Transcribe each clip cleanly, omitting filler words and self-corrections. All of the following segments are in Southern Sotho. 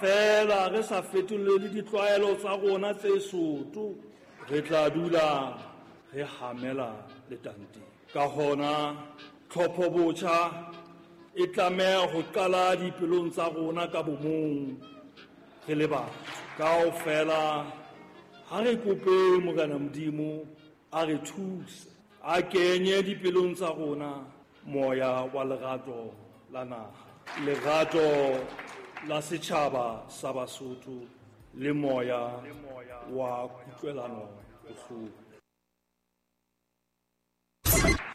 Feela re sa fetolele ditlwaelo tsa rona tse soto, re tla dula re hamela letanteng. Ka hona, tlhopho botjha e tlameha ho qala dipelong tsa rona ka bomong re le batho. Kaofela ha re kope Morena Modimo a re thuse, a kenye dipelong tsa rona moya wa lerato la naha, lerato la setjhaba sa Basotho le moya wa kutlwelano bohloko.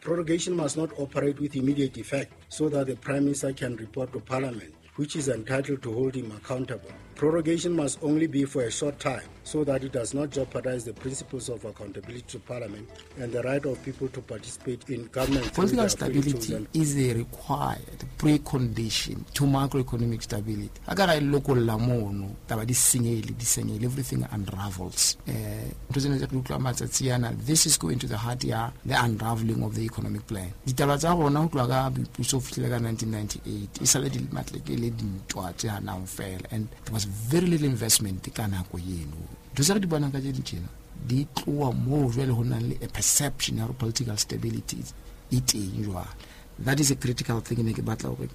Prorogation must not operate with immediate effect so that the Prime Minister can report to Parliament, which is entitled to hold him accountable. Prorogation must only be for a short time so that it does not jeopardize the principles of accountability to Parliament and the right of people to participate in government. Political stability is a required precondition to macroeconomic stability. A ka ra e lokolla mono, taba di senyehile, di senyehile, everything unravels. Ntho tsena tse re utlwa matsatsi ana, this is going to the heart ya the unraveling of the economic plan. Ditaba tsa rona ho tloha ka boipuso ho fihlile ka 1998, e sale di matleke le dintwa tse hanang fela, and there was very little investment ka nako eno. Ntho tse re di bonang ka tse ding tjena di tloha moo jwale ho nang le a perception ya hore political stability e teng jwale. That is a critical thing ne ke batla hore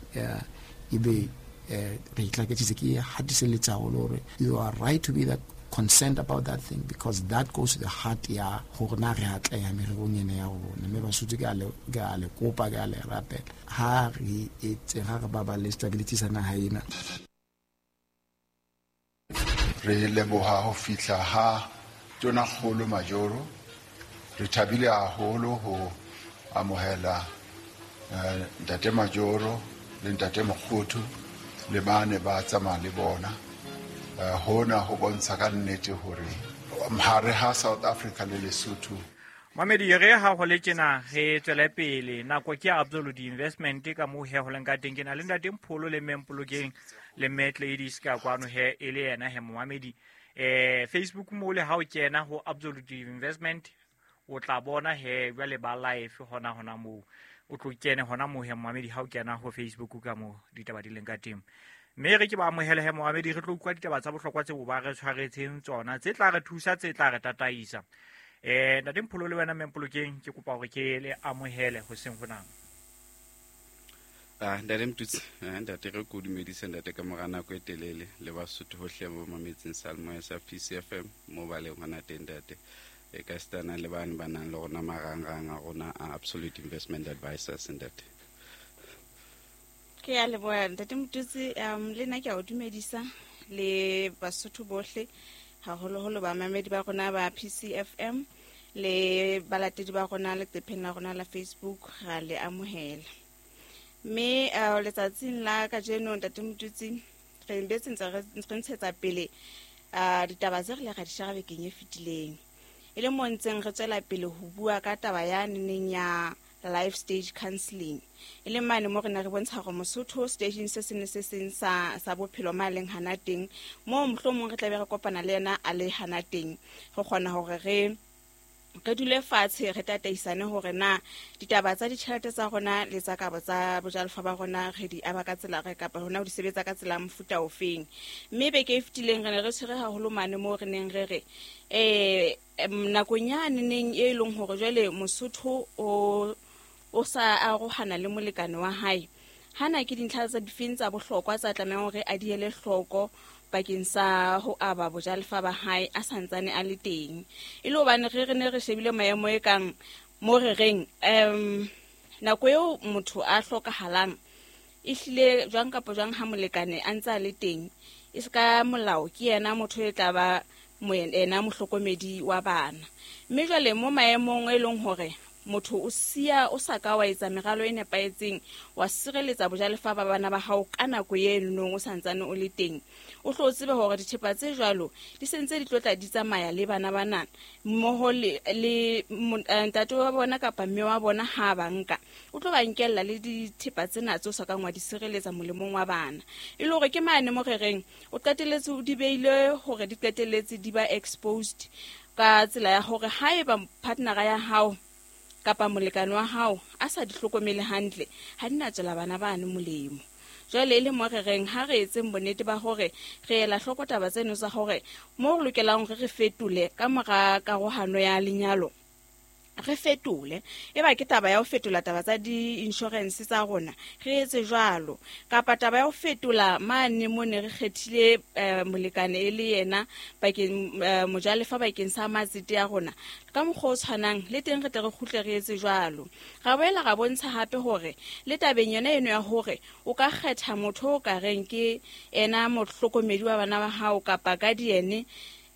ebe re itlaketsitse, ke hatiselletsa haholo hore you are right to be that concerned about that thing, because that goes to the heart ya hore na re atleha mererong ena ya rona. Mme Basotho ke a le kopa, ke a le rapela, ha re etse, ha re baballe stability sa naha ena. Re leboha ho fihla ha Tonakgolo Majoro. Re thabile haholo ho amohela Ntate Majoro le Ntate Mokgothu le bane ba tsamaya le bona. Hona ho bontsha ka nnete hore hare ha South Africa le Lesotho. Mamedi, re ha ho le tjena re tswele pele. Nako ke Absolute Investment ka moo he ho leng ka teng. Ke na le Ntate Mpholo le Mme Mpolokeng le Mme Gladys ka kwano he e le yena he momamedi. Facebook mo le ha o kena ho Absolute Investment o tla bona he jwale ba live hona hona moo. O tlo kene hona moo he momamedi ha o kena ho Facebook ka moo ditaba di leng ka teng. Mme re ke ba amohele he momamedi, re tlo utlwa ditaba tsa bohlokwa tseo ba re tshwaretseng tsona, tse tla re thusa, tse tla re tataisa. Ntate Mpholo le wena Mme Mpolokeng, ke kopa hore ke le amohele hoseng hona. Ntate Mtutsi, ntate re ko dumedise ntate ka mora nako e telele le Basotho hohle ba mametseng Salemoya sa PCFM mo ba leng hona teng ntate. E ka sitana le bane ba nang le rona marangrang a rona a Absolute Investment Advisors ntate. Ke a leboha ntate Mtutsi, le nna ke a o dumedisa le Basotho bohle, haholoholo bamamedi ba rona ba PCFM le balatedi ba rona leqepheng la rona la Facebook, ra le amohela. Mme letsatsing la kajeno ntate Mtutsi re betse ntse re ntshetsa pele ditaba tse re le ra di shera bekeng e fetileng. E le mo ntseng re tswela pele ho bua ka taba ya neneng ya life stage counseling. E le mane mo re ne re bontsha hore Mosotho stageng se seng le se seng sa bophelo ma leng hana teng, moo mohlomong re tla be re kopana le yena a le hana teng, re kgona hore re dule fatshe re tataisane hore na ditaba tsa ditjhelete tsa rona le tsa kabo tsa bojalefa ba rona re di aba ka tsela re kapa hona ho di sebetsa ka tsela mofuta ofeng. Mme beke e fetileng re ne re tshwere haholo mane moo re neng re re, nakong ya neneng e leng hore jwale Mosotho o sa arohana le molekane wa hae, hana ke dintlha tsa difeng tsa bohlokwa tsa tlamehang hore a di ele hloko bakeng sa ho aba bojalefa ba hae a santsane a le teng. E le hobane re ne re shebile maemo e kang mo re reng, nako eo motho a hlokahalang ehlile jwang kapa jwang ha molekane a ntse a le teng, e se ka molao ke yena motho e tla ba ena mohlokomedi wa bana. Mme jwale mo maemong e leng hore motho o siya o sa ka wa etsa meralo e nepahetseng, wa sireletsa bojalefa ba bana ba hao ka nako e nong o santsane o le teng, o hlo o tsebe hore dithepa tse jwalo di sentse di tlo tla di tsamaya le bana bana mmoho le ntate wa bona kapa mme wa bona ha ba nka, o tlo ba nkella le dithepa tsena tse o sa kang wa di sireletsa molemong wa bana. E le hore ke mane mo re reng o qetelletse o di beile hore di qetelletse di ba exposed ka tsela ya hore haeba partnera ya hao kapa molekane wa hao a sa di hlokomele hantle, ha di na tswela bana bane molemo. Jwale e le mo re reng ha re etseng bonnete ba hore re ela hloko taba tseno tsa hore mo re lokelang hore re fetole ka mora karohano ya lenyalo, re fetole. E ba ke taba ya ho fetola taba tsa di-insurance tsa rona, re etse jwalo. Kapa taba ya ho fetola mane mo ne re kgethile molekane e le yena bakeng mojalefa bakeng sa matsete ya rona, ka mokgwa o tshwanang le teng re tle re kgutle re etse jwalo. Ra boela ra bontsha hape hore le tabeng yona eno ya hore o ka kgetha motho o ka reng ke ena mohlokomedi wa bana ba hao kapa guardian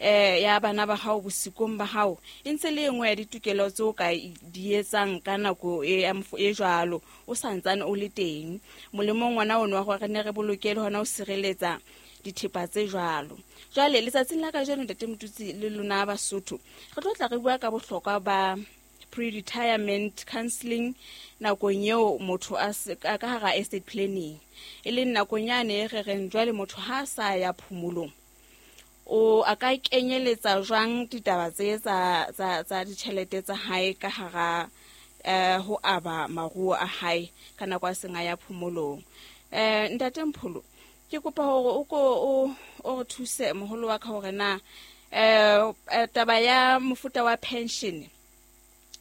ya bana ba hao bosikong ba hao, e ntse le e nngwe ya ditokelo tseo ka di etsang ka nako e jwalo o santsane o le teng. Molemong ngwana ono wa hore re ne re bolokele hona ho sireletsa dithepa tse jwalo. Jwale letsatsing la kajeno ntate Motutsi le lona Basotho, re tlo tla re bua ka bohlokwa ba pre-retirement counseling nakong eo motho a ka hara estate planning, e leng nakong yane re reng jwale motho ha a sa ya phomolong o a ka kenyeletsa jwang ditaba tse tsa ditjhelete tsa hae ka hara ho aba maruo a hae ka nako a seng a ya phomolong. Ntate Mpholo, ke kopa hore o ko o re thuse moholo wa ka hore na taba ya mofuta wa pension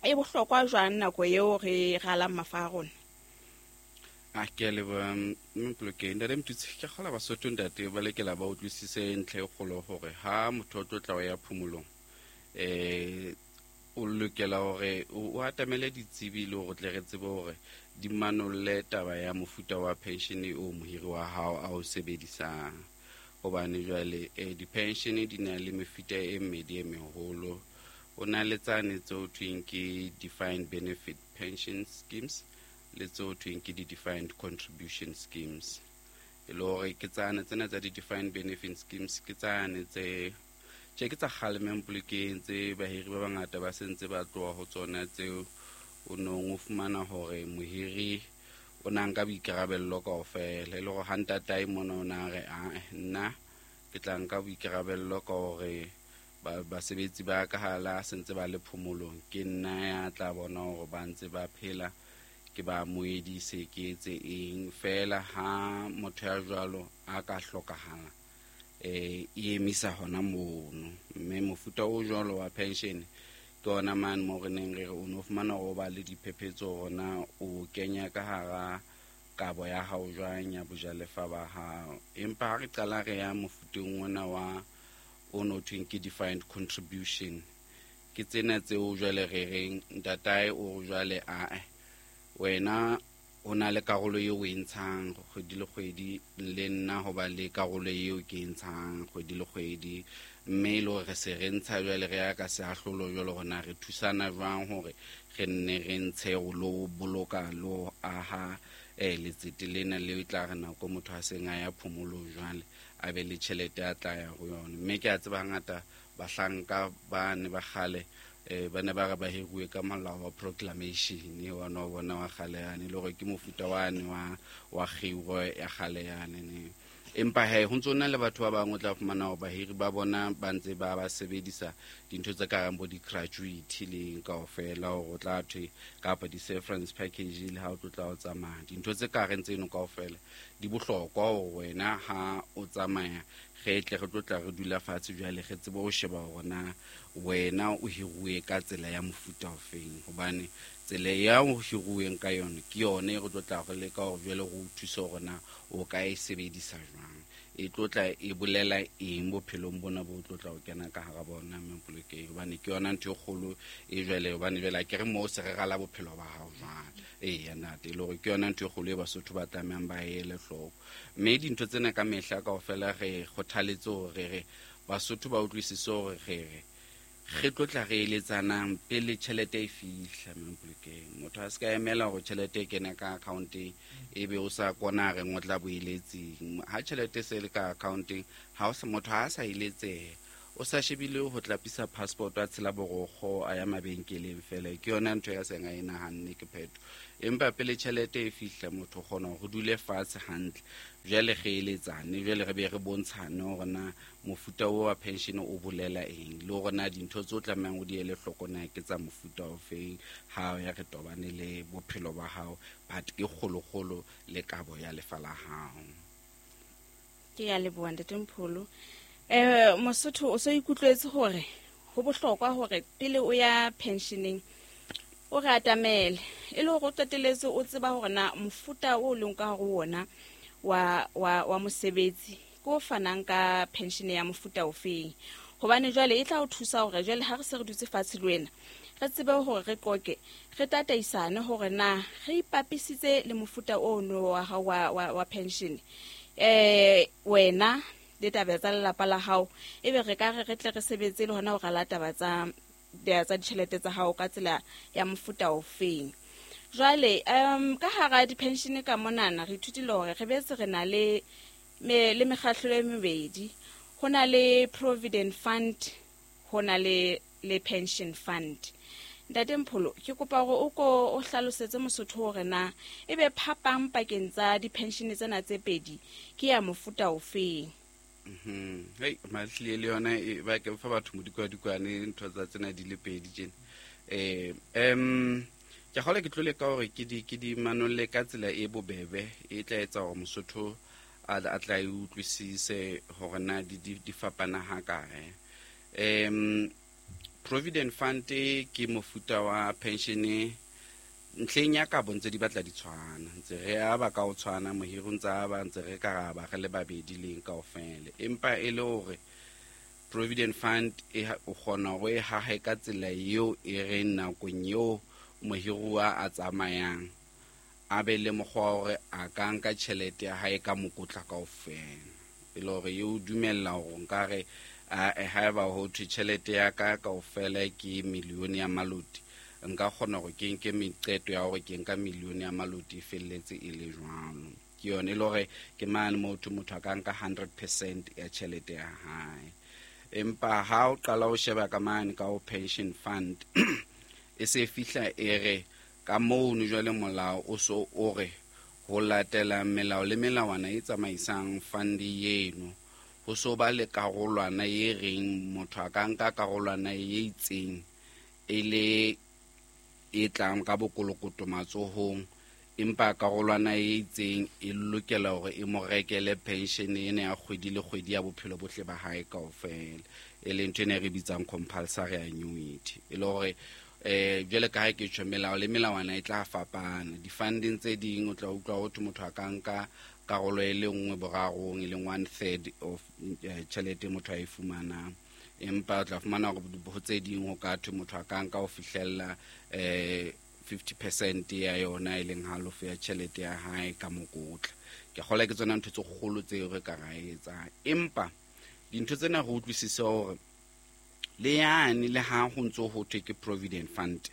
e bohlokwa jwang nako eo re ralang mafa a rona? A ke a leboha Mpolokeng. Ntate Motutsi, ke kgola Basotho ntate ba lokela ba utlwisise ntlha e kgolo hore ha motho o tlo tla o ya phomolong, o lokela hore o atamele ditsebi le hore tle re tsebe hore di manolle taba ya mofuta wa pension o mohiri wa hao a o sebedisang. Hobane jwale di-pension di na le mefuta e mmedi e meholo. O na le tsane tse ho thweng ke defined benefit pension schemes le tse ho thweng ke di-defined contribution schemes. E le hore ke tsane tsena tsa di-defined benefit schemes ke tsane tse tje ke tsa kgale Mpolokeng tse bahiri ba bangata ba sentse ba tloha ho tsona, tseo o nong o fumana hore mohiri o na nka boikarabello kaofela. E le hore ha ntatae mona o na re nna ke tla nka boikarabello ka hore basebetsi ba ka ha la sentse ba le phomolong, ke nna ya tla bona hore ba ntse ba phela, ke ba moedise, ke etse eng. Feela ha motho ya jwalo a ka hlokahala, e emisa hona mono. Mme mofuta o jwalo wa pension ke ona mane mo re neng re re o no fumana hore o ba le diphephetso hore na o kenya ka hara kabo ya hao jwang ya bojalefa ba hao. Empa ha re qala re ya mofuteng ona wa o no thweng ke defined contribution, ke tsena tseo jwale re reng ntatae o jwale wena o na le karolo eo o e ntshang kgwedi le kgwedi, le nna ho ba le karolo eo ke e ntshang kgwedi le kgwedi. Mme e le hore re se re ntsha jwale re ya ka seahlolo jwale hore na re thusana jwang hore re nne re ntshe ho lo boloka le ho aha letsete lena leo e tla re nako motho a seng a ya phomolong jwale a be le tjhelete a tla ya ho yona. Mme ke a tseba hangata bahlanka ba ne ba kgale ba ne ba re ba hiruwe ka molao wa proclamation wa no bona wa kgale yane, le hore ke mofuta wane wa kgiro ya kgale yane ne. Empa he ho ntso na le batho ba bang o tla fumana hore bahiri ba bona ba ntse ba ba sebedisa dintho tse ka reng bo di-gratuity le kaofela hore o tla thwe kapa di-severance package le ha o tlo tla o tsamaya. Dintho tse ka reng tseno kaofela di bohlokwa hore wena ha o tsamaya re tle re tlo tla re dula fatshe jwale re tsebe ho sheba hore na wena o hiruwe ka tsela ya mofuta ofeng, hobane tsela ya o hiruweng ka yona ke yone e re tlo tla re leka hore jwale re o thuse hore na o ka e sebedisa jwang, e tlo tla e bolela eng bophelong bona bo tlo tla o kena ka hara bona Mpolokeng, hobane ke yona ntho e kgolo e jwale, hobane jwale akere moo se re rala bophelo ba hao jwale. Eya ntate, e le hore ke yona ntho e kgolo e Basotho ba tlamehang ba ele hloko. Mme dintho tsena ka mehla kaofela re kgothaletse hore re Basotho ba utlwisise hore re re tlo tla re eletsanang pele tjhelete e fihla Mpolokeng. Motho a se ka emela hore tjhelete e kene ka account-eng ebe o sa kona reng o tla boeletseng. Ha tjhelete e se le ka account-eng, ha o sa motho ha a sa eletsehe, O sa shebile ho tlapisa passport a tshela borokgo a ya mabenkeleng fela, ke yona ntho ya seng a e nahanne ke phetho. Empa pele tjhelete e fihla, motho o kgona hore re dule fatshe hantle, jwale re eletsane, jwale re be re bontshane hore na mofuta o wa pension o bolela eng, le hore na dintho tse o tlamehang o di ele hloko na ke tsa mofuta ofeng ha o ya re tobane le bophelo ba hao, but ke kgolokgolo le kabo ya lefa la hao. Ke ya leboha, Ntate Mpholo. Mosotho, o so ikutlwetse hore ho bohlokwa hore pele o ya pensioneng o re atamele, e le hore o qeteletse o tseba hore na mofuta o leng ka hare ho ona wa mosebetsi ke o fanang ka pension ya mofuta ofeng, hobane jwale e tla o thusa hore jwale ha re se re dutse fatshe le wena, re tsebe hore re qoke, re tataisane hore na re ipapisitse le mofuta ono wa hao wa pension, wena le taba tsa lelapa la hao, ebe re ka re re tle re sebetse le hona ho rala taba tsa ditjhelete tsa hao ka tsela ya mofuta ofeng. Jwale ka hara di-pension ka monana, re ithutile hore re betse re na le mekgahlo e mebedi. Ho na le provident fund, ho na le pension fund. Ntate Mpholo, ke kopa hore o ko o hlalosetse Mosotho hore na ebe phapang pakeng tsa di-pension tsena tse pedi ke ya mofuta ofeng. Hei, mahlile le yona e ba ke fa batho modikwadikwane ntho tsa tsena di le pedi tjena. Ke kgolwa ke tlo leka hore ke di manolle ka tsela e bobebe e tla etsa hore Mosotho a tla e utlwisise hore na di fapana ha kae. Provident fund ke mofuta wa pension. Ntlheng ya kabo ntse di batla di tshwana, ntse re aba ka ho tshwana, mohiri o ntse aba, ntse re ka ra ba re le babedi leng kaofela, empa e le hore provident fund o kgona hore e hahe ka tsela eo e reng nakong eo mohiruwa a tsamayang, a be le mokgwa wa hore a ka nka tjhelete ya hae ka mokotla kaofela, e le hore e o dumella hore nkare haeba ho thwe tjhelete ya ka kaofela ke milione ya maloti, nka kgona hore ke nke meqeto ya hore ke nka milione ya maloti e felletse e le jwalo. Ke yone e le hore ke mane motho a ka nka 100% ya tjhelete ya hae. Empa ha o qala o sheba ka mane ka ho pension fund, e se fihla e re ka mono jwale molao o so o re ho latela melao le melawana e tsamaisang fund eno, ho so ba le karolwana e reng motho a ka nka karolwana e itseng e le e tlang ka bokolokoto matsohong, empa karolwana e itseng e lokela hore e mo rekele pension ena ya kgwedi le kgwedi ya bophelo bohle ba hae kaofela, e leng ntho ena e re bitsang compulsory annuity. E le hore jwale ka ha ke tjho, melao le melawana e tla fapana. Di-funding tse ding o tla utlwa ho thwe motho a ka nka karolo e le nngwe borarong, e leng one third of tjhelete motho a e fumanang, empa o tla fumana hore ho tse ding ho ka thwe motho a ka nka ho fihlella 50% ya yona, e leng halofo ya tjhelete ya hae ka mokotla. Ke kgolwa ke tsona ntho tse kgolo tseo re ka ra etsang, empa dintho tsena re utlwisise hore le yane le ha ho ntso ho thwe ke provident fund,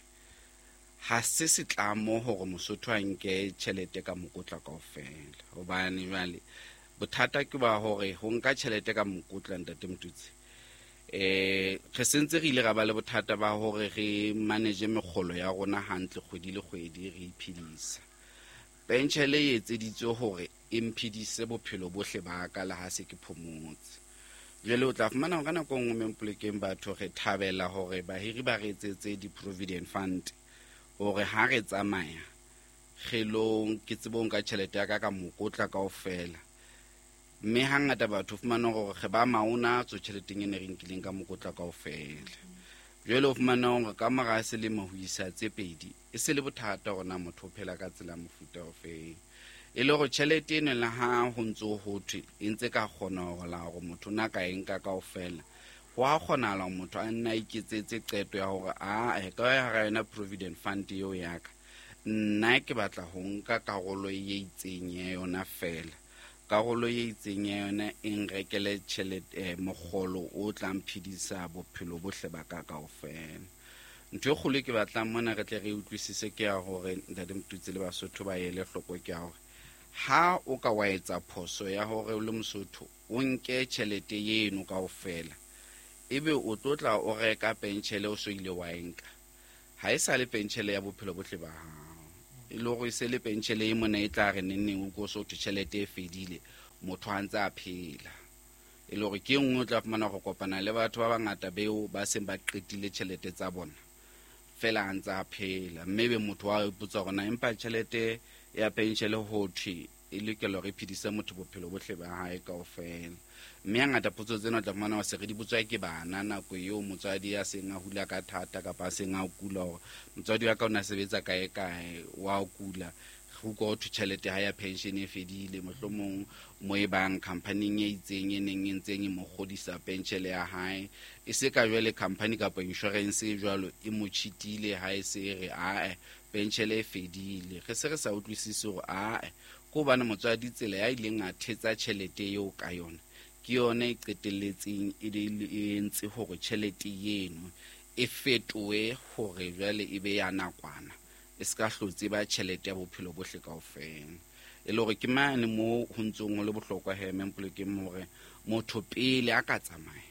ha se setlamo hore Mosotho a nke tjhelete ka mokotla kaofela, hobane jwale bothata ke ba hore ho nka tjhelete ka mokotla, Ntate Motutsi, re sentse re ile ra ba le bothata ba hore re manage mekgolo ya rona hantle kgwedi le kgwedi, re iphedisa. Penshele e etseditswe hore e mphedise bophelo bohle ba ka le ha se ke phomotse. Jwale o tla fumana hore ka nako e nngwe mempolekeng batho re thabela hore bahiri ba re etsetse di-provident fund hore ha re tsamaya kgelong ke tsebe ho nka tjhelete ya ka ka mokotla kaofela, mme hangata batho fumana hore re ba maona tswe tjheleteng e ne re nkileng ka mokotla kaofela. Jwale o fumana hore ka mora selemo ho isa tse pedi e se le bothata hore na motho o phela ka tsela mofuta ofeng, e le hore tjhelete eno le ha ho ntso ho thwe e ntse ka kgona hore la hore motho na ka e nka kaofela, ho a kgonahala hore motho a nna a iketsetse qeto ya hore a ka hara yona provident fund eo ya ka, nna ke batla ho nka karolo e itseng ya yona fela, karolo e itseng ya yona e nrekele tjhelete, mokgolo o tla mphedisa bophelo bohle ba ka kaofela. Ntho e kgolo e ke batlang mona re tle re utlwisise ke ya hore, Ntate Motutsi le Basotho ba ele hloko, ke ya hore ha o ka wa etsa phoso ya hore o le Mosotho o nke tjhelete eno kaofela, Ebe o tlotla o reka penshele o so ile wa enka. Ha e sa le penshele ya bophelo bohle ba hao. E le hore e se le penshele e mona e tla re nenneng o ko so thwe tjhelete e fedile, motho a ntse a phela. E le hore ke e nngwe o tla fumana go kopana le batho ba bangata beo ba seng ba qetile tjhelete tsa bona, fela a ntse a phela. Mme be motho wa ipotsa hore na empa tjhelete ya penshele ho thwe e lokela hore e phedise motho bophelo bohle ba hae kaofela. Mme hangata potso tsena o tla fumana hore se re di botswa ke bana nako eo motswadi a seng a hula ka thata kapa a seng a kula, hore motswadi wa ka o ne a sebetsa kae kae, wa kula, ho utlwa ho thwe tjhelete ha ya pension e fedile, mohlomong mo e bang company-ing e itseng e neng e ntseng e mo kgodisa penshele ya hae, e se ka jwale company kapa insurance e jwalo e mo cheatile ha e se e re ae penshele e fedile. Re se re sa utlwisise hore ae ke hobane motswadi tsela ya ileng a thetsa tjhelete eo ka yona ke yona e qetelletseng e e entse hore tjhelete eno e fetohe hore jwale e be ya nakwana, e se ka hlotse ba tjhelete ya bophelo bohle kaofela. E le hore ke mane moo ho ntsong ho le bohlokwa he Mempolokeng hore motho pele a ka tsamaya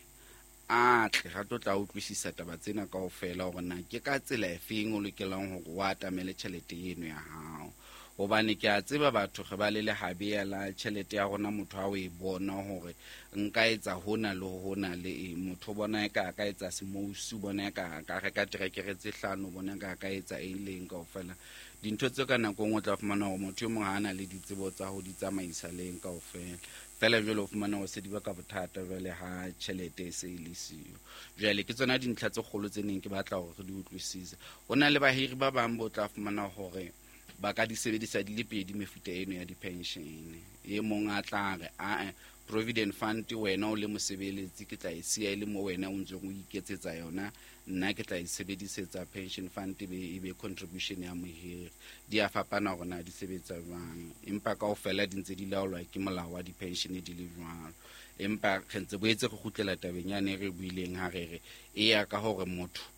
a tle ra tlo tla utlwisisa taba tsena kaofela hore na ke ka tsela efeng o lokelang hore o atamele tjhelete eno ya hao. Hobane ke a tseba batho re ba le lehabea la tjhelete ya rona, motho ha o e bona hore nka etsa hona le hona le eng, motho o bona eka a ka etsa semousu, o bona eka a ka reka terekere tse hlano, o bona eka a ka etsa eng le eng kaofela. Dintho tseo ka nako e nngwe o tla fumana hore motho e mong ha a na le ditsebo tsa ho di tsamaisa le eng kaofela. Fela jwale o fumana hore se di baka bothata jwale ha tjhelete e se e le siyo. Jwale ke tsona dintlha tse kgolo tse neng ke batla hore re di utlwisise. Ho na le bahiri ba bang bo tla fumana hore ba ka di sebedisa di le pedi mefuta eno ya di-pension. E mong a tla re, ae, provident fund wena o le mosebeletsi ke tla e siya e le mo wena o ntseng o iketsetsa yona, nna ke tla e sebedisetsa pension fund e be contribution ya mohiri. Di a fapana hore na di sebetsa jwang, empa kaofela di ntse di laolwa ke molao wa di-pension di le jwalo. Empa re ntse boetse re kgutlela tabeng yane re buileng ha re re e ya ka hore motho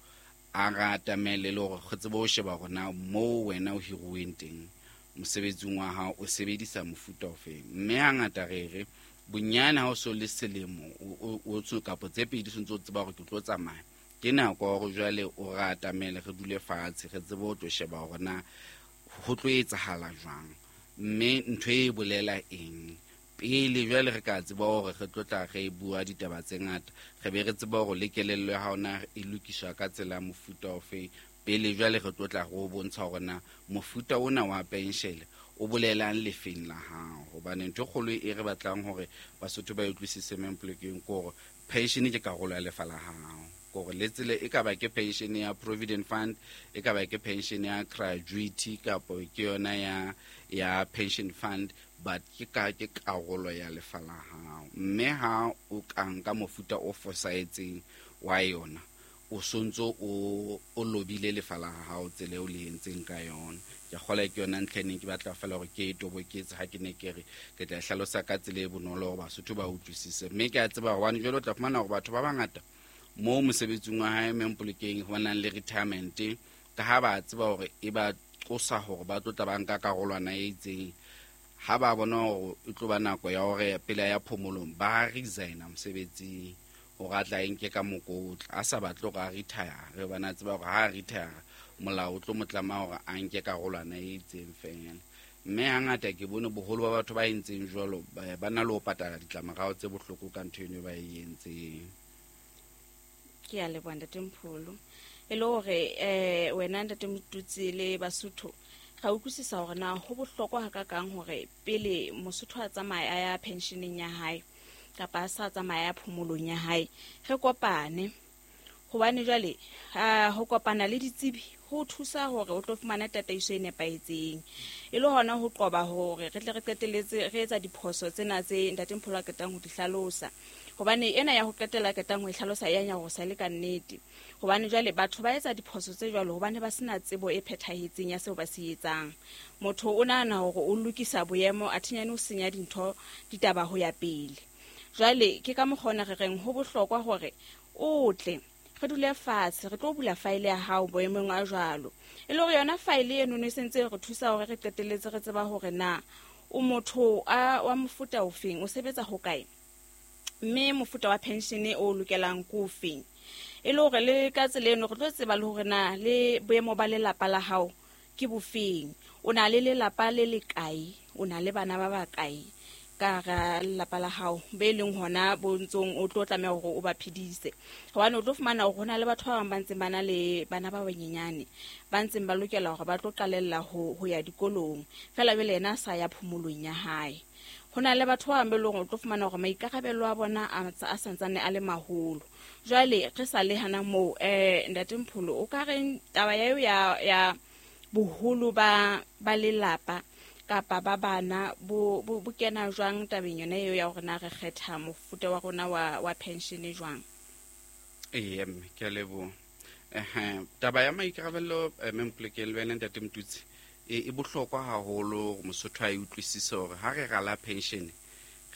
a re atamele le hore re tsebe ho sheba hore na moo wena o hiruweng teng mosebetsing wa hao o sebedisa mofuta ofeng. Mme hangata re re bonyane ha o so le selemo o tso kapa tse pedi o ntso o tseba hore ke tlo tsamaya, ke nako ya hore jwale o re atamele, re dule fatshe, re tsebe ho tlo sheba hore na ho tlo etsahala jwang, mme ntho e bolela eng. Pele jwale re ka tseba hore re tlo tla re bua ditaba tse ngata, re be re tseba hore le kelello ya hao na e lokiswa ka tsela ya mofuta ofe. Pele jwale re tlo tla re o bontsha hore na mofuta ona wa penshele o bolelang lefeng la hao. Hobane ntho e kgolo e re batlang hore Basotho ba e utlwisise Mempolokeng ke hore pension ke karolo ya lefa la hao. Hore le tsela e ka ba ke pension ya provident fund, e ka ba ke pension ya gratuity kapa ke yona ya pension fund, but ke ka ke karolo ya lefa la hao. Mme ha o ka nka mofuta o fosahetseng wa yona, o sontso o lobile lefa la hao tsela eo le entseng ka yona. Ke kgolwa ke yona ntlha e neng ke batla fela hore ke e toboketse ha ke ne ke re ke tla e hlalosa ka tsela e bonolo hore Basotho ba utlwisise. Mme ke a tseba hobane jwale o tla fumana hore batho ba bangata moo mosebetsing wa hae Mempolokeng ho nang le retirement, ka ha ba tseba hore e ba qosa hore ba tlo tla ba nka karolwana e itseng, ha ba bona hore e tlo ba nako ya hore pele ya phomolong ba resigna mosebetsing hore a tla e nke ka mokotla, a sa batle hore a retire, hobane a tseba hore ha a retire molao o tlo mo tlama hore a nke karolwana e itseng fela. Mme hangata ke bone boholo ba batho ba entseng jwalo ba na le ho patala ditlamorao tse bohloko ka ntho eno ba e entseng. Ke a leboha Ntate Mpholo. E le hore wena Ntate Motutsi le Basotho ra utlwisisa hore na ho bohlokwa hakakang hore pele Mosotho a tsamaya a ya pensioneng ya hae kapa a sa tsamaya ya phomolong ya hae, re kopane. Hobane jwale ho kopana le ditsebi ho thusa hore o tlo fumana tataiso e nepahetseng, e le hona ho qoba hore re tle re qetelletse re etsa diphoso tsena tse Ntate Mpholo a qetang ho di hlalosa. Hobane ena ya ho qetela qetang ho e hlalosa ya nyarosa le ka nnete. Hobane jwale batho ba etsa diphoso tse jwalo hobane ba sena tsebo e phethahetseng ya seo ba se etsang. Motho o nahana hore o lokisa boemo, a thinyane o senya dintho ditaba ho ya pele. Jwale ke ka mokgwa ona re reng ho bohlokwa hore o tle re dule fatshe, re tlo bula faele ya hao boemong a jwalo. E le hore yona faele eno e sentse re thusa hore re qetelletse re tseba hore na o motho wa mofuta ofeng, o sebetsa hokae, Mme mofuta wa pension o lokelang ko feng? E le hore le ka tsela eno re tlo tseba le hore na le boemo ba lelapa la hao ke bofeng. O na le lelapa le le kae? O na le bana ba bakae ka hara lelapa la hao be leng hona bo ntsong o tlo tlameha hore o ba phedise? Hobane o tlo fumana hore hona le batho ba bang ba ntseng ba na le bana ba banyenyane ba ntseng ba lokela hore ba tlo qalella ho ya dikolong, fela jwale yena a sa ya phomolong ya hae. Ho na le batho ba bang be leng hore o tlo fumana hore maikarabelo a bona a santsane a le maholo. Jwale re sa le hana moo, Ntate Mpholo, o ka reng taba eo ya boholo ba lelapa kapa ba bana bo kena jwang tabeng yona eo ya hore na re kgetha mofuta wa rona wa pension jwang? Ee, mme ke a leboha. Taba ya maikarabelo, mme Mpolokeng le wena Ntate Motutsi, e bohlokwa haholo hore Mosotho a e utlwisise hore ha re rala pension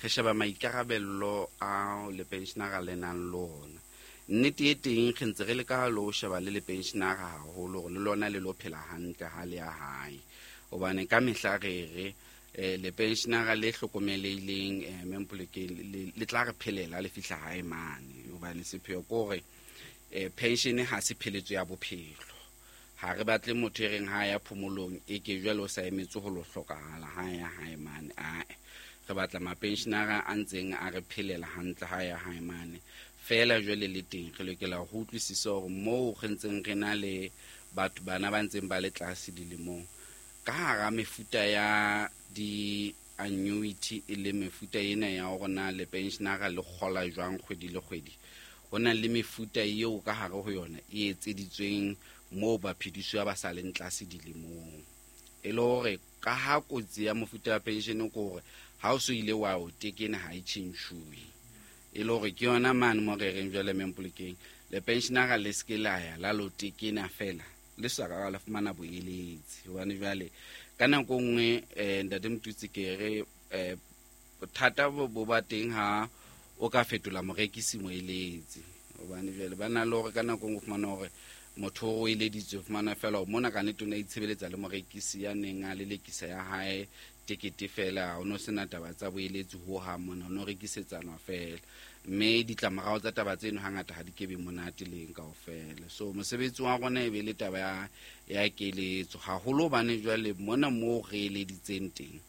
re sheba maikarabello a le pensionera le nang le ona. Nnete e teng re ntse re leka le ho sheba le le pensionera haholo hore le lona le lo phela hantle ha le ya hae. Hobane ka mehla re re le pensionera le hlokomelehileng, mme Mpolokeng, le tla re phelela le fihla hae mane. Hobane sepheo ke hore pension ha se pheletso ya bophelo. Ha re batle motho e reng ha ya phomolong e ke jwale o sa emetse ho lo hlokahala ha ya hae mane. Ae, re batla mapensionera a ntseng a re phelela hantle ha ya hae mane. Fela jwale le teng re lokela ho utlwisisa hore moo re ntseng re na le batho bana ba ntseng ba le tlase dilemong, ka hara mefuta ya di-annuity e le mefuta ena ya hore na le pensionera le kgola jwang kgwedi le kgwedi, ho na le mefuta eo ka hare ho yona e etseditsweng moo baphedisuwa ba sa leng tlase dilemong. E le hore ka ha kotsi ya mofuta wa pension ke hore ha o so ile wa o tekena ha e tjhentjhuwe. E le hore ke yona mane mo re reng jwale mme Mpolokeng, le pensionera le se ke la ya la lo tekena fela le sa ka la fumana boeletsi. Hobane jwale ka nako e nngwe, Ntate Motutsi, ke re bothata bo ba teng ha o ka fetola morekisi moeletsi. Hobane jwale ba na le hore ka nako e nngwe o fumana hore motho o eleditswe, o fumana fela hore mona ka nnete o ne a itshebeletsa le morekisi ya neng a lelekisa ya hae tekete fela, o no sena taba tsa boeletsi hohang mona, o no rekisetsana fela. Mme ditlamorao tsa taba tseno hangata ha di kebe monate leng kaofela. So mosebetsi wa rona e be le taba ya keletso haholo, hobane jwale mona moo re eleditseng teng,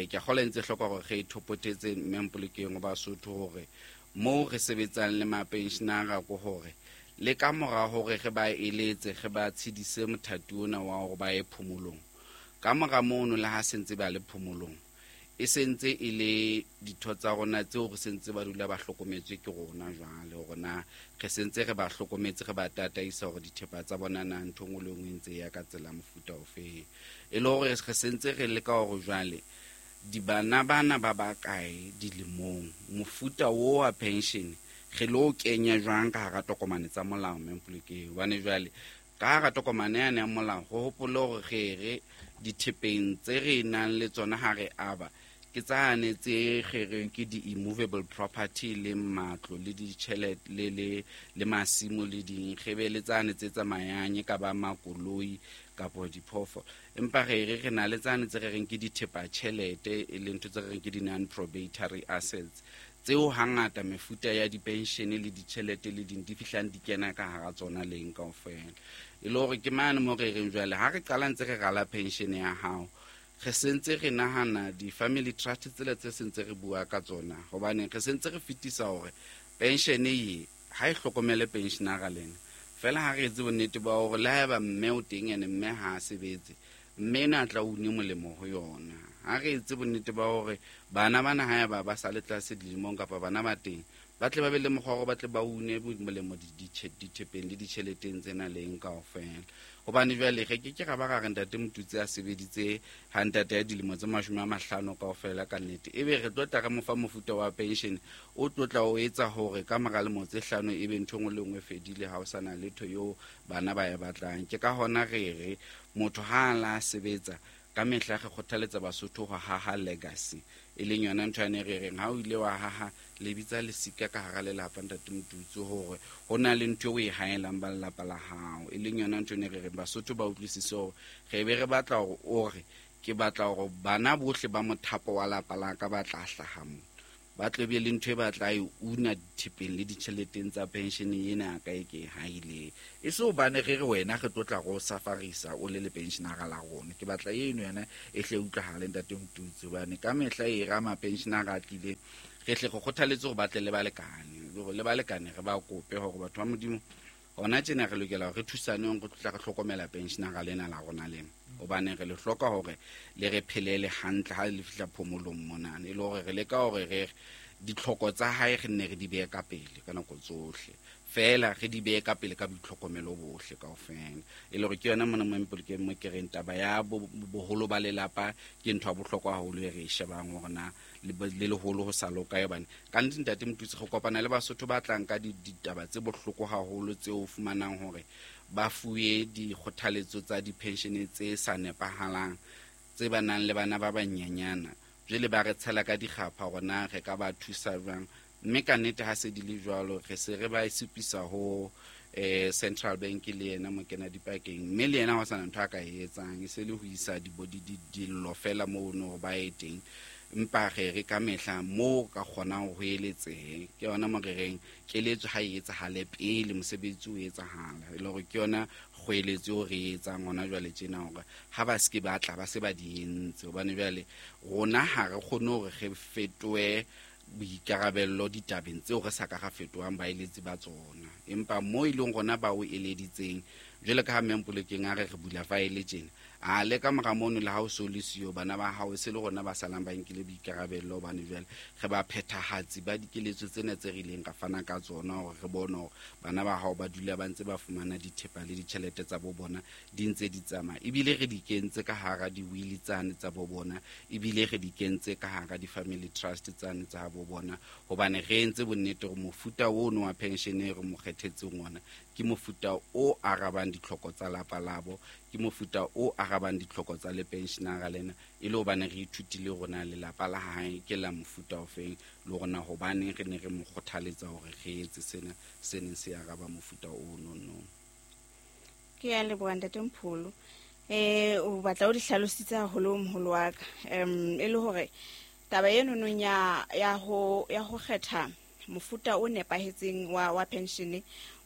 ke a kgolwa e ntse hloka hore re thopotetse mme Mpolokeng wa Basotho hore moo re sebetsang le mapensionara ke hore le ka mora hore re ba eletse, re ba tshedise mothati ona wa hore ba ye phomolong, ka mora mono le ha sentse ba le phomolong, e sentse e le ditho tsa rona tseo re sentse ba dula ba hlokometswe ke rona jwale, hore na re sentse re ba hlokometse, re ba tataisa hore dithepa tsa bona na ntho e nngwe le e nngwe e ntse ya ka tsela mofuta ofe. E le hore re sentse re leka hore jwale dibana bana ba bakae dilemong, mofuta o wa pension re lo kenya jwang ka hara tokomane tsa molao mme Mpolokeng. Hobane jwale ka hara tokomane yane ya molao ho hopole hore re re dithepeng tse re nang le tsona ha re aba ke tsane tse kgereng ke di-immovable property le matlo le ditjhelete le masimo le ding, re be le tsane tse tsamayang e ka ba makoloi kapo diphoofolo. Empa re re re na le tsane tse re reng ke dithepa tjhelete, e leng ntho tse re reng ke di-non-probatory assets, tseo hangata mefuta ya dipenshene le ditjhelete le ding di fihlang di kena ka hara tsona leng kaofela. E le hore ke mane mo re reng jwale ha re qala ntse re rala pension ya hao, re sentse re nahana di-family trust tsela tse sentse re bua ka tsona, hobane re sentse re fetisa hore pension e ha e hlokomele pensionera lena fela. Ha re etse bonnete ba hore le haeba mme o teng ene mme ha a sebetse, mme ena a tla une molemo ho yona. Ha re etse bonnete ba hore bana bana haeba ba sa le tlase dilemong kapa bana ba teng, ba tle ba be le mokgwa wa hore ba tle ba une molemo dithepeng le ditjheleteng tsena leng kaofela. Hobane jwale re ke ke ra ba ra re Ntate Motutsi a sebeditse ha ntate ya dilemo tse 50 kaofela ka nnete, ebe re tlo tla re mo fa mofuta wa pension o tlo tla o etsa hore ka mora lemo tse 5 ebe ntho e nngwe le nngwe e fedile, ha o sa na letho eo bana ba e batlang. Ke ka hona re re motho ha a la sebetsa ka mehla re kgothaletsa Basotho ho haha legacy, e leng yona ntho yane re reng ha o ile wa haha lebitsa lesika ka hara lelapa Ntate Motutsi, hore ho na le ntho eo o e haelang ba lelapa la hao, e leng yona ntho ene re reng Basotho ba utlwisise hore re be re batla hore o re ke batla hore bana bohle ba mothapo wa lapa la ka ba tla hlaha mo. Ba tlo be le ntho e ba tla e una dithepeng le ditjheleteng tsa pension ena ka e ke haile. E se hobane re re wena re tlo tla go safarisa o le le pensionara la rona. Ke batla eno yona e hle utlwahale ntate Motutsi, hobane ka mehla e ra ma pensionara a tlile re hle go kgothaletse hore ba tle le balekane, le balekane re ba kope hore batho ba Modimo hona tjena re lokela hore re thusaneng, re tla re hlokomela pensionara lena la rona lena, hobane re le hloka hore le re phelele hantle ha le fihla phomolong monana, e le hore re leka hore re ditlhoko tsa hae re nne re di behe ka pele ka nako tsohle, fela re di behe ka pele ka boitlhokomelo bohle kaofela. E le hore ke yona mona mo mpolokeng mo ke reng taba ya boholo ba lelapa ke ntho ya bohlokwa haholo e re e shebang hore na le leholo ho sa loka, hobane ka nnete ntate Motutsi re kopana le Basotho ba tlang ka ditaba tse bohloko haholo tseo o fumanang hore ba fuwe dikgothaletso tsa di-pension tse sa nepahalang, tse ba nang le bana ba banyenyana, jwale ba re tshela ka dikgapha hore na re ka ba thusa jwang. Mme ka nnete ha se di le jwalo re se re ba supisa ho Central Bank le yena mokena dipakeng, mme le yena ha ho sana ntho a ka e etsang, e se le ho isa dillo fela mono hore ba ye teng. Empa re re ka mehla moo ka kgonang ho eletsehe, ke yona mo re reng keletso ha e etsahale pele mosebetsi o etsahala, e le hore ke yona kgoeletso eo re e etsang hona jwale tjena, hore ha ba se ke ba tla ba se ba di entse, hobane jwale rona ha re kgone hore re fetohe boikarabello ditabeng tseo re sa ka ra fetohang baeletsi ba tsona. Empa mo e leng rona ba o eleditseng, jwale ka ha mme Mpolokeng a re re bula faele tjena, a le ka mora mono le ha o so le siyo, bana ba hao e se le rona ba salang ba nkile boikarabello, hobane jwale re ba phethahatsi ba dikeletso tsena tse re ileng ra fana ka tsona, hore re bone hore bana ba hao ba dula ba ntse ba fumana dithepa le ditjhelete tsa bo bona di ntse di tsamaya, ebile re di kentse ka hara di-will tsane tsa bo bona, ebile re di kentse ka hara di-family trust tsane tsa bo bona, hobane re entse bonnete hore mofuta ono wa pension e re mo kgethetseng ona ke mofuta o arabang ditlhoko tsa lapa labo, ke mofuta o arabang ditlhoko tsa le pensionara lena, e le hobane re ithutile rona lelapa la hae ke la mofuta ofeng, le rona hobane re ne re mo kgothaletsa hore re etse sena se neng se araba mofuta ono no. Ke a leboha ntate Mpholo. O batla o di hlalositse haholo moholo wa ka. E le hore taba eno nong ya ho kgetha mofuta o nepahetseng wa pension,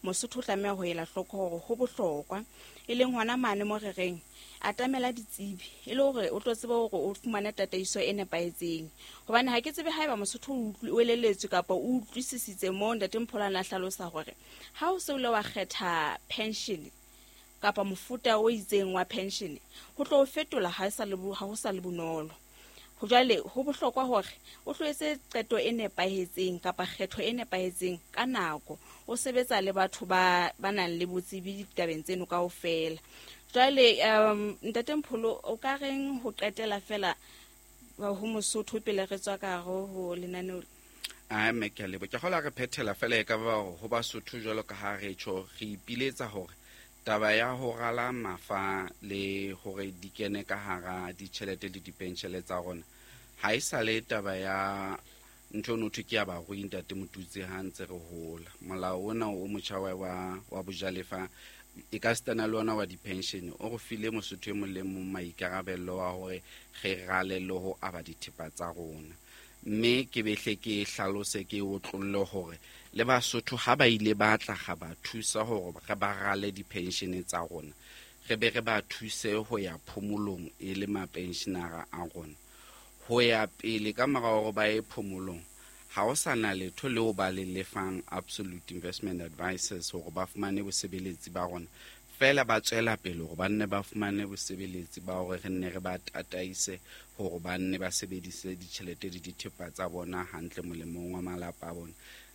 Mosotho o tlameha ho ela hloko hore ho bohlokwa, e leng hona mane mo re reng atamela ditsebi, e le hore o tlo tsebe hore o fumane tataiso e nepahetseng. Hobane ha ke tsebe haeba Mosotho o elelletswe kapa o utlwisisitse mo ntate Mpholo a na hlalosa hore ha o se o ile wa kgetha pension kapa mofuta o itseng wa pension, ho tlo o fetola ha ho sa le bonolo. Jwale ho bohlokwa hore o tlo etse qeto e nepahetseng kapa kgetho e nepahetseng ka nako, o sebetsa le batho ba nang le botsebi ditabeng tseno kaofela. Jwale ntate Mpholo, o ka reng ho qetela fela ho Mosotho pele re tswa ka hare ho lenaneo? A mme ke a leboha. Ke kgolwa re phethela fela e ka ba hore ho Basotho jwalo ka ha re tjho, re ipiletsa hore taba ya ho rala mafa le hore di kene ka hara ditjhelete le dipenshele tsa rona ha e sa le taba ya ntho eno thwe ke ya barui ntate Motutsi ha ntse re hola. Molao ona o motjha wa bojalefa e ka sitana le ona wa di-pension o re file Mosotho e mong le mong maikarabello wa hore re rale le ho aba dithepa tsa rona. Mme ke behle ke hlalose ke otlolle hore le Basotho ha ba ile ba tla ga ba thusa hore re ba rale di-pension tsa rona, re be re ba thuse ho ya phomolong e le mapensionara a rona. Ho ya pele ka mora hore ba ye phomolong, ha ho sa na letho leo ba le lefang Absolute Investment Advisors hore ba fumane bosebeletsi ba rona, fela ba tswela pele hore ba nne ba fumane bosebeletsi ba hore re nne re ba tataise hore ba nne ba sebedise ditjhelete le dithepa tsa bona hantle molemong wa malapa a bona.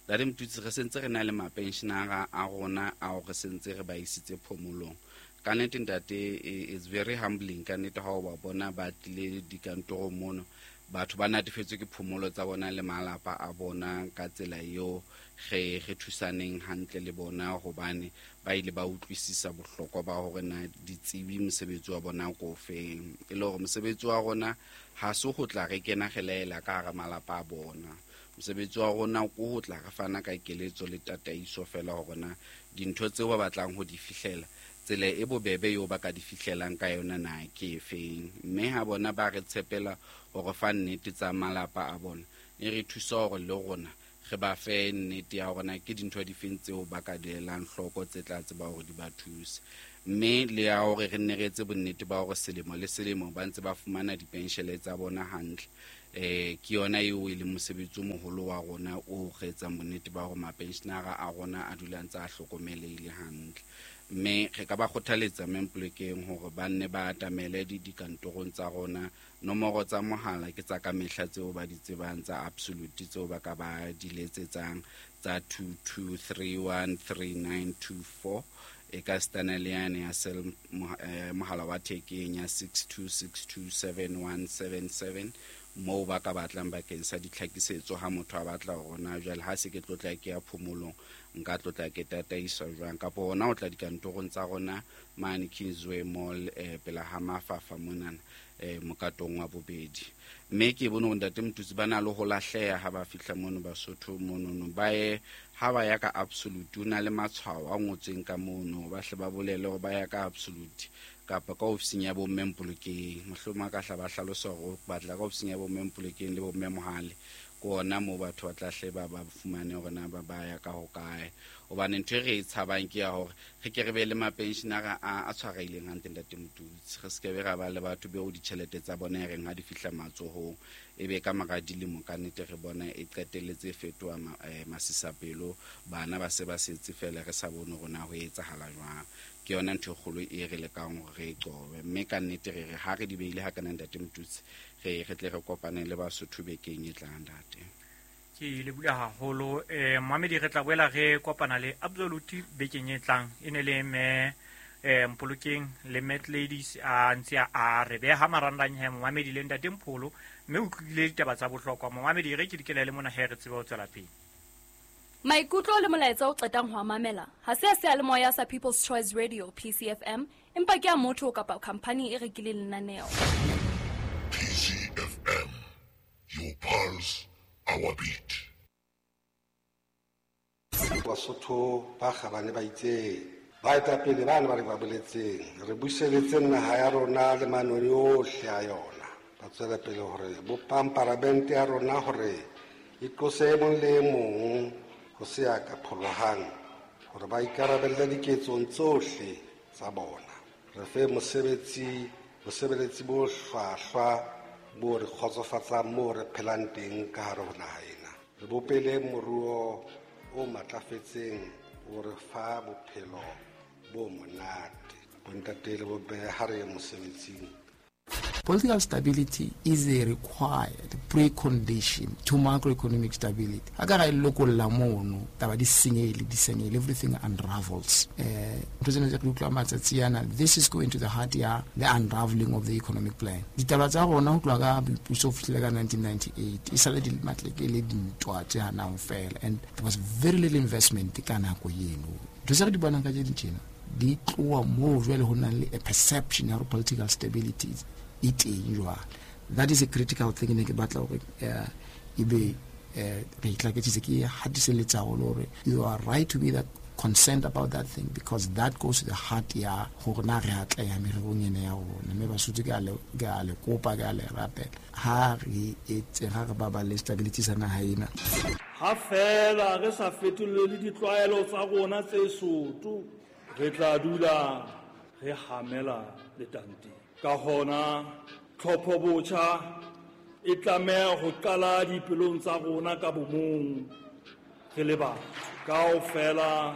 Ntate Motutsi, re sentse re na le mapensionara a rona ao re sentse re ba isitse phomolong. Ka nnete ntate, it's very humbling ka nnete ha o ba bona ba tlile dikantorong mono, batho ba natefetswe ke phomolo tsa bona le malapa a bona ka tsela eo re thusaneng hantle le bona, hobane ba ile ba utlwisisa bohlokwa ba hore na ditsebi mosebetsi wa bona ko feng. E le hore mosebetsi wa rona ha se ho tla re kena re laela ka hara malapa a bona. Mosebetsi wa rona ko ho tla re fana ka keletso le tataiso fela hore na dintho tseo ba batlang ho di fihlela, tsela e bobebe eo ba ka di fihlelang ka yona na ke efeng. Mme ha bona ba re tshepela hore fa nnete tsa malapa a bona, E re thusa hore le rona re ba fe nnete ya hore na ke dintho difeng tseo ba ka di elang hloko tse tla tseba hore di ba thuse. Mme le ya hore re nne re etse bonnete ba hore selemo le selemo ba ntse ba fumana dipenshele tsa bona hantle. Ke yona eo e leng mosebetsi o moholo wa rona o re etsang bonnete ba hore mapensionara a rona a dula ntse a hlokomelehile hantle. Mme re ka ba kgothaletsa Mme hore ba nne ba atamele dikantorong tsa rona. Nomoro tsa mohala ke tsa ka mehla tseo ba di tsebang tsa Absolute tseo ba ka ba di letsetsang tsa 22313924, e ka sitana le yane ya cell mohala wa thekeng ya 62627177, moo ba ka batlang bakeng sa ditlhakisetso ha motho a batla hore na jwale ha se ke tlotla ke ya phomolong nka tlotla ke tataiswa jwang, kapa hona o tla dikantorong tsa rona mane Kingsway Mall, pela ha Mafafa monana, mokatong wa bobedi. Mme ke bone hore ntate Motutsi ba na le ho lahleha ha ba fihla mono Basotho monono, ba ye ha ba ya ka Absolute, o na le matshwao a ngotsweng ka mono, ba hle ba bolele hore ba ya ka Absolute kapa ka ofising ya bomme Mpolokeng. Mohlomong a ka hla ba hlalosa hore o batla ka ofising ya bomme Mpolokeng le bomme Mohale, ke ona moo batho ba tla hle ba fumane hore na ba ya ka hokae. Hobane ntho e re e tshabang ke ya hore re ke re be le mapensionara a tshwarehileng hantle ntate Motutsi, re se ke be ra ba le batho beo ditjhelete tsa bona e reng ha di fihla matsohong e be ka mora dilemo ka nnete re bona e qetelletse e fetoha masisapelo, bana ba se ba setse fela re sa bone hore na ho etsahala jwang. Ke yona ntho e kgolo e re lekang hore re e qobe. Mme ka nnete re re ha re di beile ha kana ntate Motutsi, re tle re kopane le Basotho bekeng e tlang ntate. Ke le bula haholo, Mohamedi, re tla boela re kopana le Absolute bekeng e tlang. E ne le mme Mpolokeng le Matt Ladies a ntse a re beha marangrang he Mohamedi le ntate Mpholo, mme o utlwile ditaba tsa bohlokwa. Mohamedi, re ke dikele le mona he re tsebe ho tswela pele. Maikutlo le molaetsa o qetang ho a mamela ha se a seyalemoya sa People's Choice Radio PCFM, empa ke a motho kapa khampani e rekileng lenaneo. PCFM, your pulse, our beat. Basotho ba kgabane ba itseng, baetapele bana ba re ba boletseng, re buseletse naha ya rona le manoni ohle a yona. Ba tswela pele hore bopang paramente ya rona hore e tlose e mong le e mong ho se ya ka pholohang, hore ba ikarabelle diketsong tsohle tsa bona. Re fe bosebeletsi bo hlwahlwa bo re kgotsofatsang moo re phelang teng ka hare ho naha ena. Re bopele moruo o matlafetseng o re fa bophelo bo monate. Bontate le bomme ha re ye mosebetsing. Political stability is a required precondition to macroeconomic stability. Ha ka ra e lokolla mono, taba di senyehile, di senyehile, everything unravels. Ntho tsena tse re utlwa matsatsi ana, this is going to the heart ya the unraveling of the economic plan. Ditaba tsa rona ho tloha ka boipuso ho fihlela ka 1998, e sale di matleke le dintwa tse hanang fela, and there was very little investment ka nako eno. Ntho tse re di bonang ka tse tjena di tloha moo jwale ho nang le a perception ya hore political stability e teng jwale. That is a critical thing ne ke batla hore ebe re itlaketsitse, ke hatiselletsa haholo hore you are right to be that concerned about that thing, because that goes to the heart ya hore na re atleha mererong ena ya rona. Mme Basotho ke a le kopa, ke a le rapela, ha re etse, ha re baballe stability sa naha ena. Ha fela re sa fetolele ditlwaelo tsa rona tse soto, re tla dula re hamela letanteng. Ka hona tlhopho botjha e tlameha ho qala dipelong tsa rona ka bomong re le batho. Kaofela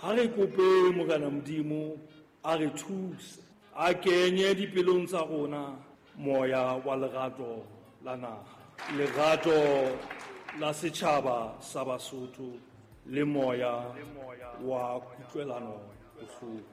ha re kope Morena Modimo a re thuse, a kenye dipelong tsa rona moya wa lerato la naha, lerato la setjhaba sa Basotho le moya wa kutlwelano bohloko.